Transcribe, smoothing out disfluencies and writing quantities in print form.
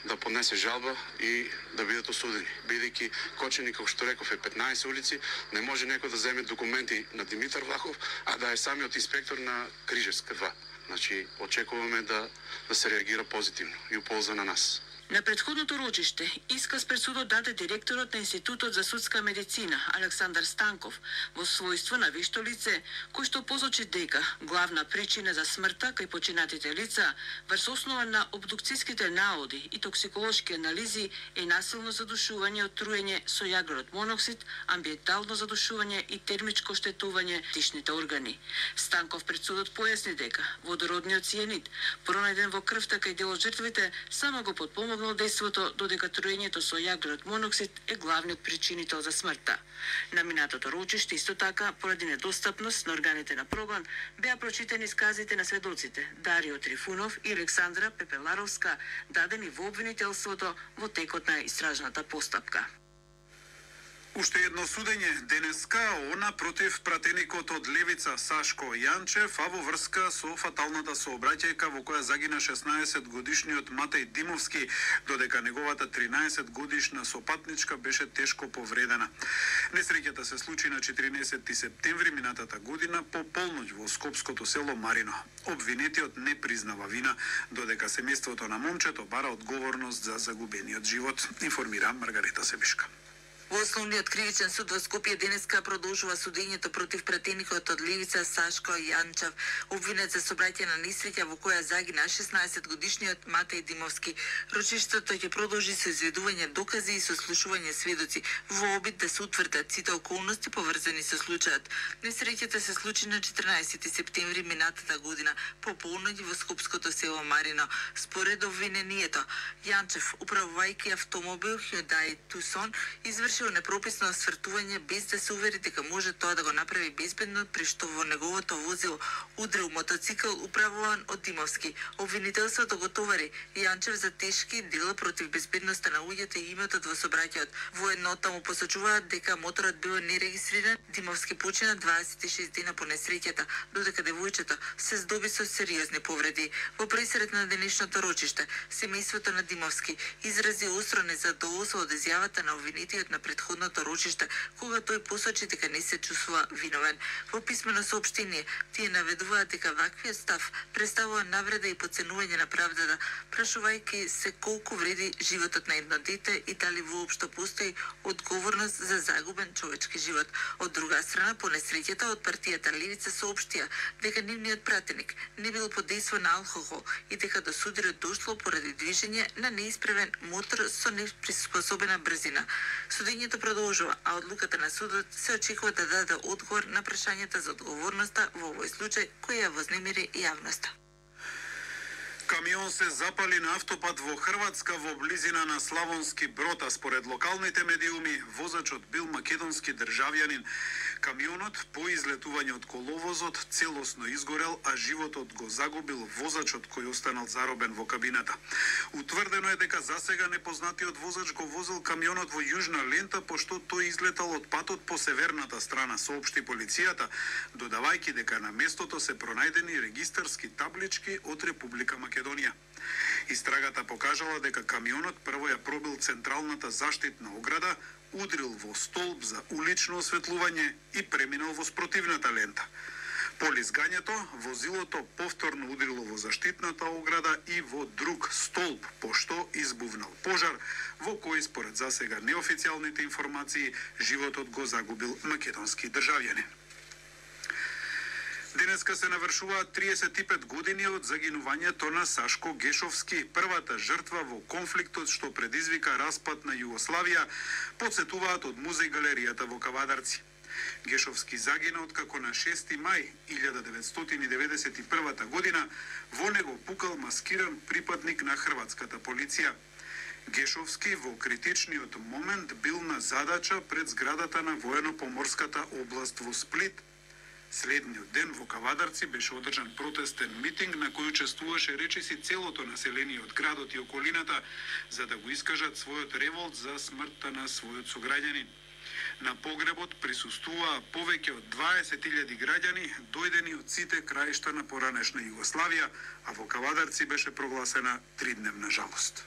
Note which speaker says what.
Speaker 1: да поднесе жалба и да бидат осудени. Бидејќи Кочани, како што реков, е 15 улици, не може некој да земе документи на Димитар Влахов, а да е самиот инспектор на Крижевска 2. Значи, очекуваме да се реагира позитивно и уполза на нас.
Speaker 2: На претходното рочиште исказ пред судот даде директорот на Институтот за судска медицина Александар Станков во својство на вешто лице, кој што посочи дека главна причина за смртта кај починатите лица врз основа на обдукцијските наоди и токсиколошки анализи е насилно задушување од труење со јаглерод моноксид, амбиентално задушување и термичко штетување дишните органи. Станков пред судот појасни дека водородниот цијанид пронајден во крвта кај дел од жртвите само го подпомогнал дејството, додека труењето со јаглерод моноксид е главниот причинител за смртта. На минатото рочиште исто така, поради недостапност на органите на прогон, беа прочитани исказите на сведоците Дарио Трифунов и Александра Пепеларовска, дадени во обвинителството во текот на истражната постапка.
Speaker 3: Уште едно судење денеска, она против пратеникот од Левица Сашко Јанчев, а во врска со фаталната сообраќајка во која загина 16-годишниот Матеј Димовски, додека неговата 13-годишна сопатничка беше тешко повредена. Несреќата се случи на 14 септември минатата година по полноќ во скопското село Марино. Обвинетиот не признава вина, додека семејството на момчето бара одговорност за загубениот живот, информира Маргарета Себишка.
Speaker 4: Во Основниот кривичен суд во Скопје денеска продолжува судењето против пратеникот од Левица Сашко Јанчев, обвинет за сообраќај на несреќа во која загина 16-годишниот Матеј Димовски. Рочиштето ќе продолжи со изведување докази и со слушување сведоци во обид да се утврдат сите околности поврзани со случајот. Несреќата се случи на 14 септември минатата година по полноќ во скопското село Марино. Според обвинението, Јанчев, управувајќи автомобил Hyundai Tucson, извршил непрописно освртување без да се увери дека може тоа да го направи безбедно, при што во неговото возило удрил мотоцикл управуван од Димовски. Обвинителството го товари Јанчев за тешки дела против безбедноста на луѓето и имотот во сообраќајот. Воеднота му посочуваат дека моторот бил нерегистриран. Димовски почина 26 дена по несреќата, додека девојчето се здоби со сериозни повреди. Во пресред на денешното рочиште, семејството на Димовски изрази остро незадоволство од изјавата на обвинетиот на претходното рочиште, кога тој посочи дека не се чувствува виновен. Во писмено соопштение, тие наведуваат дека ваквиот став представува навреда и подценување на правдата, прашувајќи се колку вреди животот на едно дете и дали воопшто постои одговорност за загубен човечки живот. Од друга страна, по несреќата од партијата Левица соопштија дека нивниот пратеник не бил под дејство на алкохол и дека до судрот дошло поради движење на неисправен мотор со неприспособена брзина. Судењето продолжува, а одлуката на судот се очекува да даде одговор на прашањата за одговорноста во овој случај кој ја вознемири јавноста.
Speaker 3: Камион се запали на автопат во Хрватска во близина на Славонски Брод, а според локалните медиуми возачот бил македонски државјанин. Камионот по излетување од коловозот целосно изгорел, а животот го загубил возачот кој останал заробен во кабината. Утврдено е дека засега непознатиот возач го возил камионот во јужна лента, пошто тој излетал од патот по северната страна, соопшти полицијата, додавајќи дека на местото се пронајдени регистарски таблички од Република Македонија. Истрагата покажала дека камионот прво ја пробил централната заштитна ограда, удрил во столб за улично осветлување и преминал во спротивната лента. По лизгањето, возилото повторно удрило во заштитната ограда и во друг столб, пошто избувнал пожар, во кој според засега неофицијалните информации животот го загубил македонски државјанин. Денеска се навршуваат 35 години од загинувањето на Сашко Гешовски, првата жртва во конфликтот што предизвика распад на Југославија, подсетуваат од музеј галеријата во Кавадарци. Гешовски загина откако на 6 мај 1991 година во него пукал маскиран припадник на хрватската полиција. Гешовски во критичниот момент бил на задача пред зградата на воено-поморската област во Сплит. Следниот ден во Кавадарци беше одржан протестен митинг на кој учествуваше речиси целото население од градот и околината за да го искажат својот револт за смртта на својот сограѓанин. На погребот присуствуваа повеќе од 20.000 граѓани дојдени од сите краишта на поранешна Југославија, а во Кавадарци беше прогласена 3-дневна жалост.